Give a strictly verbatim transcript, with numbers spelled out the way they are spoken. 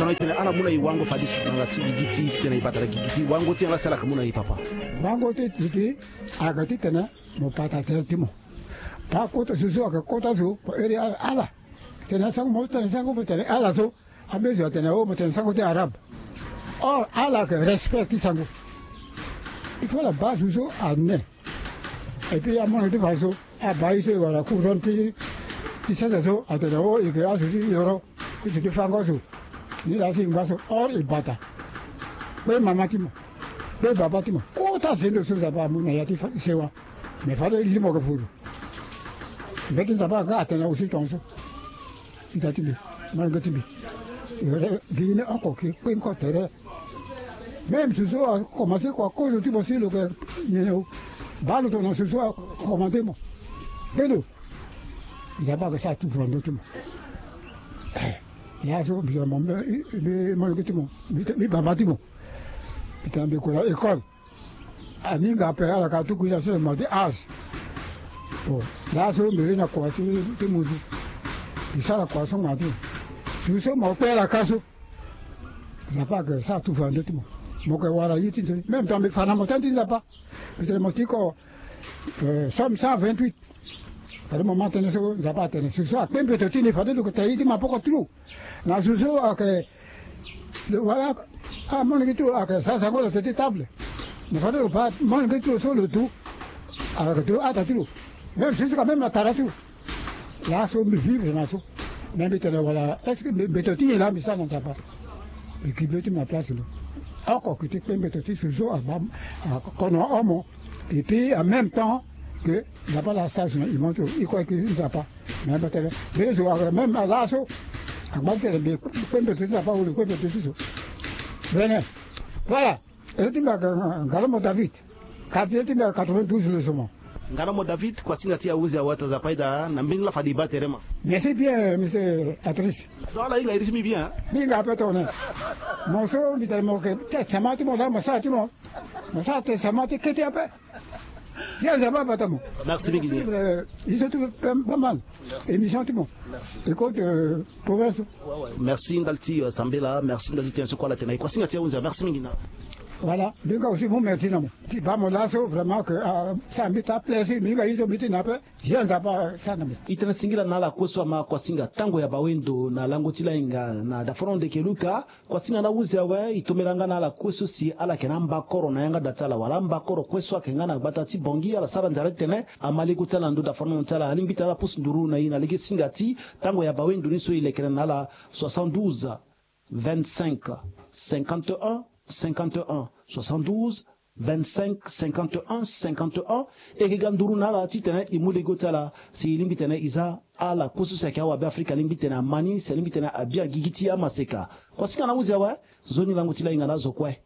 Titene ala mu na e wango fade so na yanga ti gigi ti titene e bata na gigi ti wango ti yanga si ala yeke mu na e papa. Wango ti titi ayeke titene mo bata tere ti mo. Baa kota zo so ayeke kota zo mo iri ala. Tene sango mo tene sango mo tene ala so. Ambeni zo atene o mo tene sango ti arabe. Or ala ayeke respect ti sango. Il faut la base so ane. Et puis amono ti fa so abaa ye so e wara courant ti ti sese so atene o e yeke azo ti yoro ti si ti fango so. Ni laa si e ngba so or e bata. Kpe mama ti mo kpe baba ti mo kota zendo so Nzapa amu na ya ti sewa. Mais fade li ti mo yeke furu. Mbeti Nzapa aga atene aussi tongaso. Ita ti mbi. Molenge ti mbi. Gi ni oko ki kpe ni ko tere. Même si so akomanse kua kozo ti mo si lo yeke nyenye o. Baa lo tongana so so akomande mo. Kpe lo. Nzapa ayeke sara toujours na ndö ti mo. Laso mbi tene mo mbi molenge ti mo mbi baba ti mo. Mbi tene mbi kue na école. Aninga ape ala ka tuku ina sese mo ti âge. Bon, laso mbi ri na kua ti ti muzu. Mbi sara kua so ngana ti mo. Zo so mo kpe ala ka so. Nzapa ayeke sara tufa na ndö ti mo. Mo yeke wara ye ti nzoni même temps mbi fa na mo tënë ti Nzapa. Mbi tene mo ti ko somme cent vingt-huit. Fade mo ma tënë so Nzapa atene zo so akpe mbeto ti ni fade lo yeke tere ye ti maboko ti lo. Na zo so ayeke wala amolenge ti lo ayeke za zango na tete ti table. Mais fade lo baa molenge ti lo so lo du. Ayeke du ada ti lo. Même zo so ka même na tara ti lo. Laso mbi vivre na so. Mais mbi tene wala est-ce que mbeto ti nyen laa mbi sara na Nzapa? Mbi gi be ti mbi na place lo. Oko ki ti kpe mbeto ti zo so abaa akono omo. Et puis en même temps que Nzapa laa asara zo na imo ti lo e kue ki Nzapa. Mais mbi tene mbeni zo ayeke même na laso. Angba ti tene mbi kpe mbeto ti Nzapa wala mbi kpe mbeto ti zo. Vene. Voilà. Ere ti mbi ayeke Ngalomo David. Quartier ti mbi ayeke quatre-vingt-douze le zo mo. Ngalomo David, kuasinga ti ahunzi awe ata Nzapa ida na mbeni laa fade e baa tere ma. Merci bien monsieur Patrice. Donc ala hinga iri ti mbi bien. Mbi hinga ape tongana mo so mbi tene mo yeke tene sama ti mo laa mo sara ti mo. Mo sara tene sama ti kete ape. Ti aza baba ta mo. Merci mingi. Iso ti pas mal. Émission ti mo. Écoute province. Merci ndali ti sambela, merci ndali ti tene so kue ala tene na e kuasinga ti ahunzi awe merci mingi na. Voilà, mbi nga aussi mo merci na mo. Ti baa mo laso vraiment que ça mbi ta plaisir mbi nga iso mbi ti na ape. Ti aza baba sara na mbi. E tene singila na ala kue so ama kuasinga tango ya bawendo na lango ti lahinga na dafono ndeke Luka. Kuasinga na ahunzi awe e tombela nga na ala kue so si ala yeke na ambakoro na yanga da ti ala wala ambakoro kue so ayeke nga na gbata ti Bangui ala sara nzara ti tene ama lego ti ala na ndo dafarango ti ala alingbi tene ala pusu nduru na e na lege singa ti tango ya bawendo ni so e lekere na ala soixante-douze vingt-cinq cinquante-un cinquante-un soixante-douze vingt-cinq cinquante-un cinquante-un. E yeke ga nduru na ala titene e mu lego ti ala si e lingbi tene e za ala kue so si ayeke awabe afrika alingbi tene ama ni si alingbi tene abi agigi ti amaseka. Kuasinga na ahunzi awe. Nzoni lango ti lahinga na azo kue.